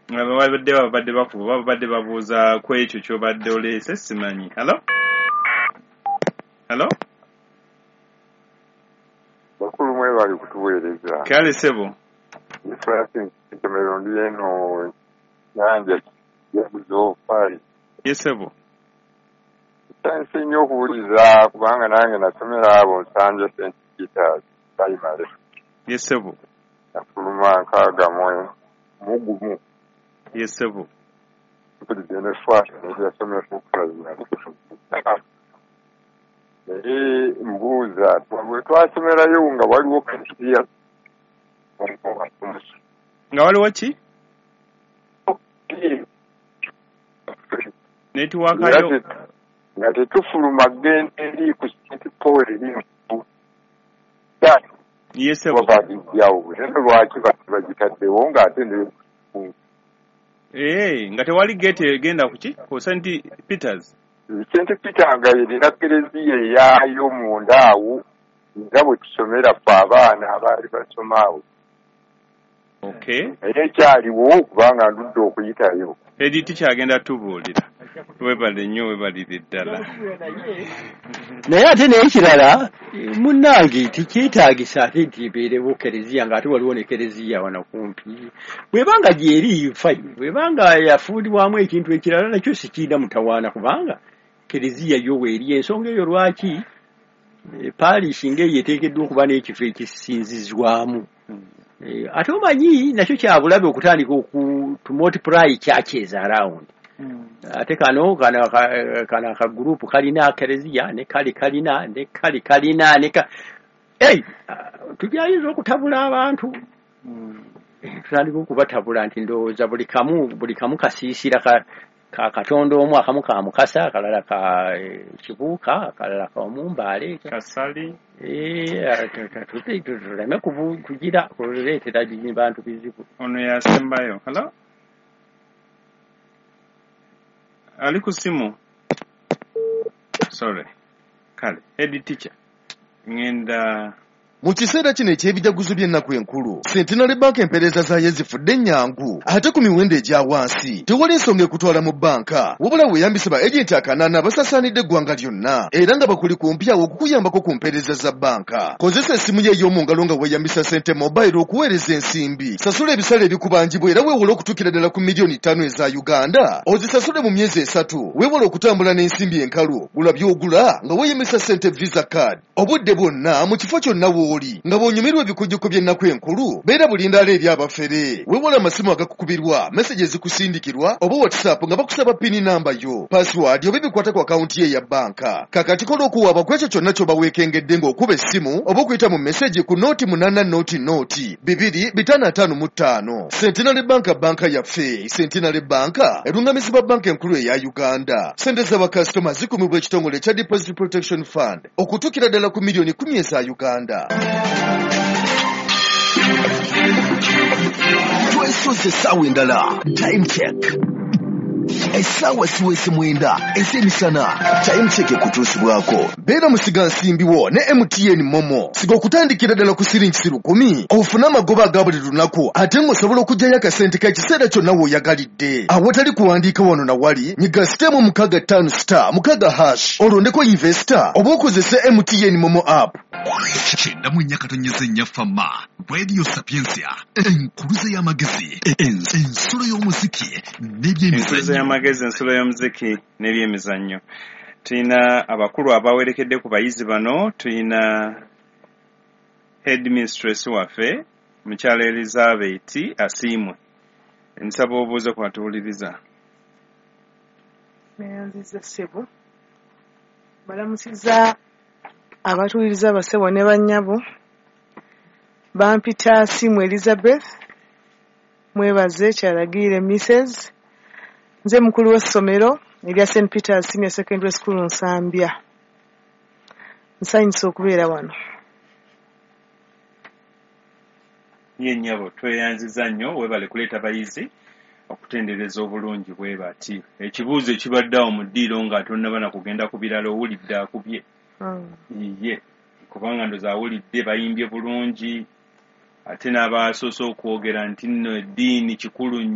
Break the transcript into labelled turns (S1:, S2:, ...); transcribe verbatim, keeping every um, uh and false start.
S1: Babadde babadde bakuba, babadde babuuza ku ekyo ky'obadde oleese, simanyi. Hello, hello.
S2: Bakulu, mwebali kutuweereza.
S1: Kale ssebo.
S2: Francis Ntomero, ndi eno Nyanja Jaguzo Parish.
S1: Ye ssebo.
S2: Nsanyuse nnyo okuwuliza kubanga nange nasomera abo Nsambya Saint Peters Primary.
S1: Ye ssebo.
S2: Nafuluma nkaaga mu mu gumu.
S1: Ye ssebo.
S2: Mpulidde ne Fwasha n'ebyasomera ku primary. Naye mbuuza, bwe twasomerayo nga waliwo katiya
S1: Nga waliwo ki? Network yo.
S2: Nga tetufuluma genda eri ku Saint Paul eri
S1: Ye ssebo.
S2: Bagijjawo, naye lwaki bagitaddewo ng'ate ne
S1: Eh, nga tewali gate egenda ku ki? Ku Saint Peters.
S2: Saint Peter nga erina kereziya eyaayo munda awo nga bwe tusomera ffe abaana abaali basoma awo.
S1: Okay.
S2: Naye ekyaliwo kubanga ndudde okuyitayo.
S1: Edi tikyagenda tubuulira. Webale nnyo, webalire ddala.
S3: Naye ate n'ekirala, munnange, tekyetaagisa ate nti ebeerewo kereziya ng'ate waliwo ne kereziya wano kumpi. Bw'ebanga gyeri, fine, bw'ebanga yafuulibwamu ekintu ekirala, nakyo sikiina mutawaana kubanga kereziya yo weeri. Ensonga eyo lwaki parish ng'eyo eteekeddwa okuba n'ekifo ekisinzizwamu. Ate omanyi nakyo kyabulabe okutandika oku to multiply churches around. Ate kano kano kano akagurupu kalina kereziya, ne kali kalina, ne kali kalina, ne ka ei tujayinza okutabula abantu, tutandika okubatabula nti ndowooza buli kamu buli kamu kasiisira ka ka Katonda omu, akamu ka Mukasa, akalala ka Kibuuka, akalala ka Omumbaale,
S1: Kasali.
S3: Tuleme kugira kuleetera bantu bizibu.
S1: Ono yasembayo. Hello, ali ku simu, sorry. Kale, head teacher, ngenda.
S4: Mu kiseera kino eky'ebijaguzo by'ennaku enkulu, Centenary Bank empeereza zaayo zifudde ennyangu ate ku miwendo egya wansi. Tewali nsonga ekutwala mu bbanka, wabula weeyambise ba agenti akanaana abasaasaanidde eggwanga lyonna era nga bakuli kumpi awo okukuyambako ku mpeereza za bbanka. Kozesa essimu yo ey'omu ngalo nga weeyambisa Sente Mobile okuweereza ensimbi, sasula ebisale ebikubanjibwa era weewole okutuukira ddala ku miliyoni ttaano eza Uganda, ozisasule mu myezi esatu. Weewale okutambula n'ensimbi enkalu, gula by'ogula nga weeyambisa Sente Visa Card obudde bwonna mu kifo kyonna w'oli. Nga bw'onyumirwa ebikujjuko by'ennaku enkulu, beera bulindaala eri abafere. Weewale amasimu agakukubirwa, message ezikusindikirwa oba WhatsApp nga bakusaba PIN namba yo, password oba ebikwata ku akawunti ye eya bbanka. Kakati kola okuwaaba ku ekyo kyonna ky'oba weekengedde ng'okuba essimu oba okuyita mu message ku nooti munaana nooti nooti bibiri bitaano ataano mu ttaano. Centenary Bank, banka yaffe. Centenary Bank erungamizibwa Banka Enkulu eya Uganda. Sente z'abakasitoma zikumibwa ekitongole ekya Deposit Protection Fund okutuukira ddala ku miliyoni kumi eza Uganda.
S5: Twesoze essaawa endala. Time Check, essaawa siwesi mwenda ez'emisana. Time Check ekutuusibwako
S4: Beera musigansimbi wo ne M T N MoMo. Siga okutandikira ddala ku siringi lukumi ofune amagoba aga buli lunaku, ate ng'osobola okuggyayo akasente k'ekiseera kyonna w'oyagalidde awatali kuwandiika wano na wali. Nyiga star emu mukaaga ttaano star mukaaga hash, olondeko investor oba okozese M T N MoMo app.
S5: Kyenda mu nnya katonyeza ennya Fama Radio Sapiensia, enkuluze y'amagezi, ensulo y'omuziki
S1: Ensulo
S5: n'ebyemizannyo.
S1: y'amagezi, ensulo y'omuziki n'ebyemizannyo. Tulina abakulu abawerekedde ku bayizi bano. Tulina headmistress waffe, mukyala Elizabeth Asiimwe. Nsaba obuuze ku batuwuliriza.
S6: Neyanziza ssebo. Balamusiza abatuwuliriza, abassebo ne bannyabo. Bampita Asiimwe Elizabeth, mwebaze Kyalagiire Missus Nze mukulu w'essomero erya Saint Peters Senior Secondary School Nsambya. Nsanyuse okubeera wano.
S1: Ye nnyabo, tweyanziza nnyo, weebale kuleeta bayizi okutendereza obulungi bwe bati. Ekibuuzo ekibadde awo mu ddiiro nga tonnaba na kugenda ku birala, owulidde akubye
S6: Mm.
S1: ye kubanga ndoza awulidde bayimbye bulungi, ate n'abasoose okwogera nti nno eddiini kikulu.